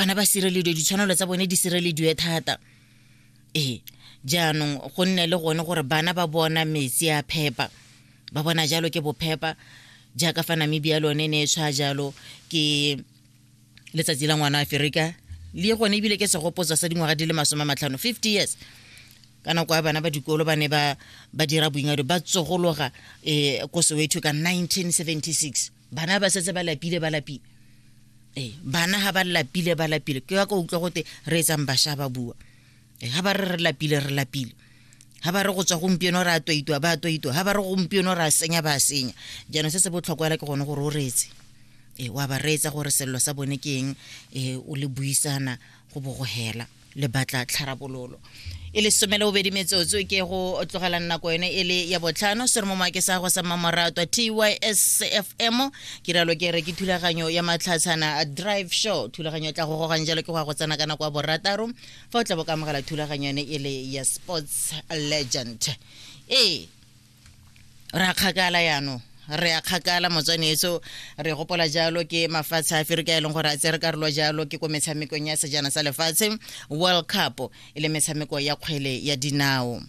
bana ba sirelediwe, ditshwanelo tsa bone di sirelediwe thata. Ee, jaanong go nne le gone gore bana ba bona metsi a phepa, ba bona jalo ke bophepa, jaaka fa Namibia lone ne e tshwa jalo ke letsatsi la ngwana Aferika, le gone ebile ke segopotso sa dingwaga di le 50, 50 years. Ka nako ya bana ba dikolo ba ne ba ba dira boingado, ba tsogologa ko Soweto ka 1976. Bana ba setse ba lapile, ba lapile. Ee, bana ga ba lapile, ba lapile. Ke ya ka utlwa gote re etsang bašwa ba bua. Ee, ga ba re re lapile, re lapile. Ga ba re go tswa gompieno re a toitwa, ba a toitwa. Ga ba re gompieno re a senya, ba a senya. Jaanong se se botlhokwa fela ke gone gore o reetse. Ee, wa ba reetsa gore sello sa bone ke eng, ee, o le buisana go bo go hela. Le batla tlharabololo. E le 12 metsotso ke go tlogelang nako yone e le ya botlhano, se re mo maake sa go sa mmamoratwa TYSFM. Ke rialo ke re ke thulaganyo ya Matlhatshana Drive Show, thulaganyo e tla go gogang jalo ke go ya go tsena ka nako ya borataro, fa o tla bo ka amogela thulaganyo yone e le ya Sports Legend. Ee, re a kgakala yaanong, re a kgakala motswanetso, re gopola jalo ke mafatshe a Aferika e leng gore a tsere karolo jalo ke ko metshamekong ya sejana sa lefatshe, World Cup, e le metshameko ya kgwele ya dinao.